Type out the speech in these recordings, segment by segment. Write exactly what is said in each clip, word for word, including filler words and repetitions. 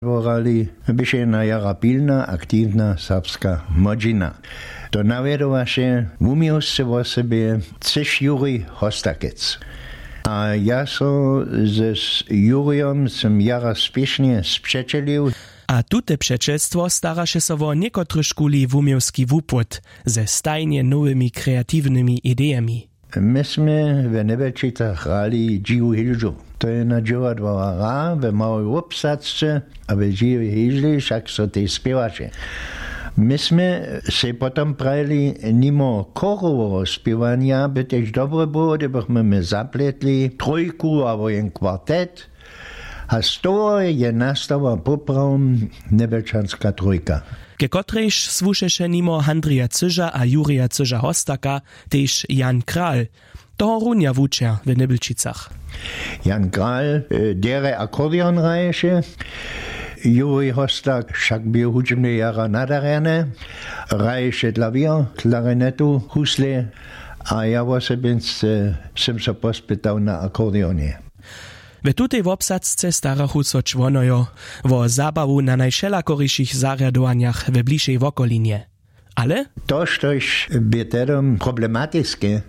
Dworali běše jedna jara pilna aktiwna serbska młodźina. To nawjedowaše wuměłsce wosebje třěš juri hostakec. A ja so z jurijom sym jara spěšnje spřećelił. A tute přećelstwo staraše so wo někotrychkuli wuměłski wupłód ze stajnje nowymi kreatiwnymi idejemi. My smy w njebelčicach hrali dźiwu hilžu. To je na dźěła dwara hra w małej wobsadzce, a w dźiwej hilžli wšak so tež spěwaše. My smy sej potom prajili, nimo choroweho spěwanja by tež dobre było, hdybychmy my zapletli trójku abo jen kwartet. A z toho je nastała poprawom njebelčanska trójka. Ke kotrejž słušeše nimo handrija cyža a jurija cyža hostaka tež jan kral, tohorunja wučer w njebelčicach. Jan kral derje akordeon hraješe. Juri hostak wšak bě hudźbnje jara nadarjany. Hraješe klawěr, klarinetu, husle. A ja wosebinc sym so pospytał na akordeonje. We tutej wobsadzce starachu so čłonojo wo zabawu na najwšelakorišich zarjadowanjach we blišej wokolinje. Ale to štož bě tehdom problematiske,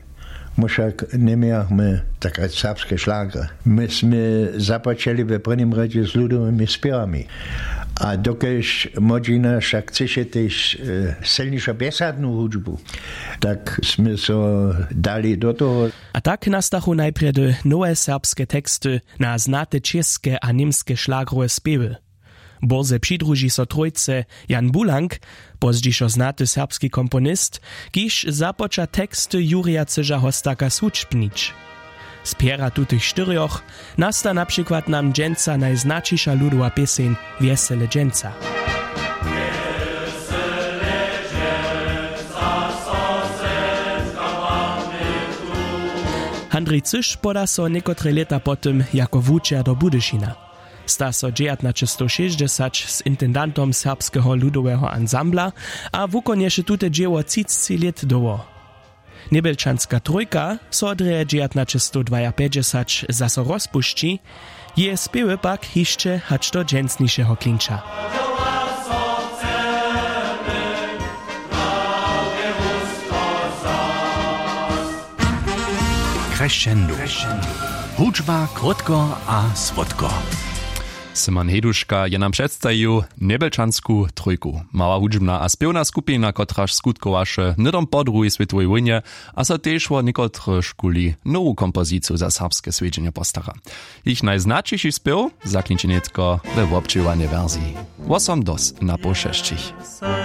my wšak njemějachmy tak rjec serbske šlagry. My smy započeli we prěnim rjedźe z ludowymi spěwami. A dokelž młodźina wšak chcyše tež sylnišo bjesadnu hudźbu, tak smy so dali do toho. A tak nastachu najprjedy nowe serbske teksty na znate čěske a němske šlagrowe spěwy. Bórze přidruži so trójce jan bulank, pozdźišo znaty serbski komponist, kiž započa teksty jurja cyža hostaka swučbnić. Z pjera tutych štyrjoch nasta na přikład nam dźensa najznaćiša ludowa pěseń wjesele dźensa. Handrij cyš poda so někotre lěta po tym jako wučer do budyšina. Sta so dźewjatnaćestowšěsćdźesać z intendantom serbskeho ludoweho ansambla a wukonješe tute dźěło třicci lět dołho. Njebjelčanska trójka so drje dźewjatnaćestowdwajapjećdźesać zaso rozpušći, jeje spěwy pak hišće hač do dźensnišeho klinča. Crescendo. Hudźba krótko a słódko. Simon Heduška je nam předstajił njebjelčansku trójku. Mała hudźbna a spěwna skupina, kotraž skutkowaše hnydom po druhej swětowej wójnje a so tež wo někotrychkuli nowu kompoziciju za serbske swjedźenje postara. Jich najznaćiši spěw zaklinči nětko we wobdźěłanjej wersiji wosom dos na poł šesćich.